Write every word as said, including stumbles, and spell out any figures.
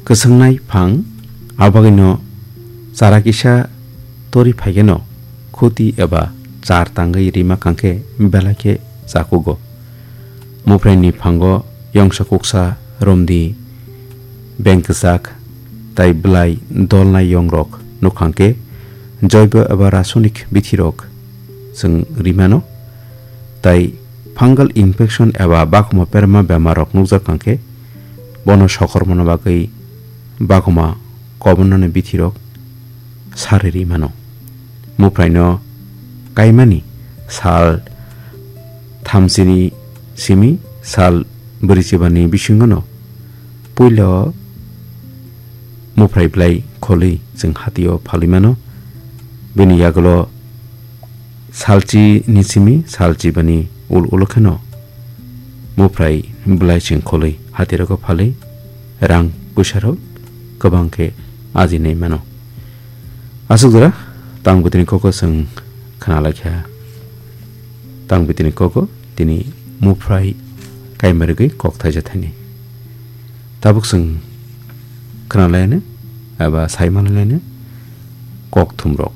Kwswngnai phang, abagwino chara kisa tori phaikeno khuti eba char tangwi rima kangkhe belai khe chakugo. Muphraini phango yongsa kuksa romdi beng kwchak tai bwlai dolnai yongrok nukhangkhe joibo eba rasonik bithirok chwng rimano. Tai fungal infection eba bakhumo perma bemarrok nukjak kangkhe bono sokormano bagwi bakhumo kobonnani bithirok sari rimano. Muphraino kaimani sal thamsini simi sal bwrwichibani bisingono puilo muphrai bwlai kholwi chwng hatio phalwi mano. Bini yagulo salchi ni simi salchi bani ul ulo kheno muphrai bwlai chwng kholwi hatirogo phalwi rang puisarok kwbang khe ajinai mano. Aswk jora tang bwtwini koko chwng khna lai kha. Tang bwtwini koko tini muphrai kaima rwgwi kok thaija thani. Tabuk chwng khna laino eba sai manlaino kok thumrok.